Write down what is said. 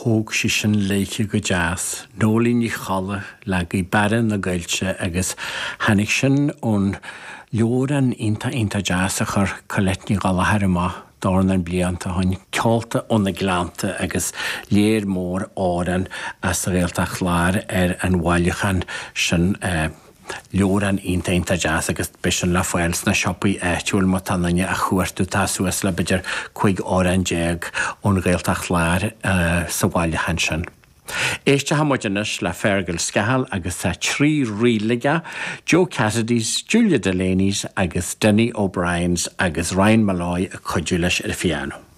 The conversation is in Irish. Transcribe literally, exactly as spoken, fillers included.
Thóg sí sin léithe go deas. Nóilín Ní Cholla le Gaoth Beara na Gaillte agus tháinig sin ón leabhrán iontach iontach deas a chuir Colette Ní Ghallchóir amach dornán blianta ó shin, Ceolta ó na Gleannta agus léar mór amhrán as an Ghaeltacht Láir ar an bhailiúchán sin. Leabhrán iontach iontach deas agus beidh sin le fáil sna siopaí áitiúil má tá duine á chuartú tá suas le b'fhéidir cúig amhrán déag ón Ghaeltacht Láir sa bhailiúchán sin. Éistfidh muid anois le Fergal Scahill agus tá trí ríl aige, Joe Cassidy's, Julia Delaney's agus Dinny O'Brien's agus Ryan Molloy ag cuidiú leis ar an phiano.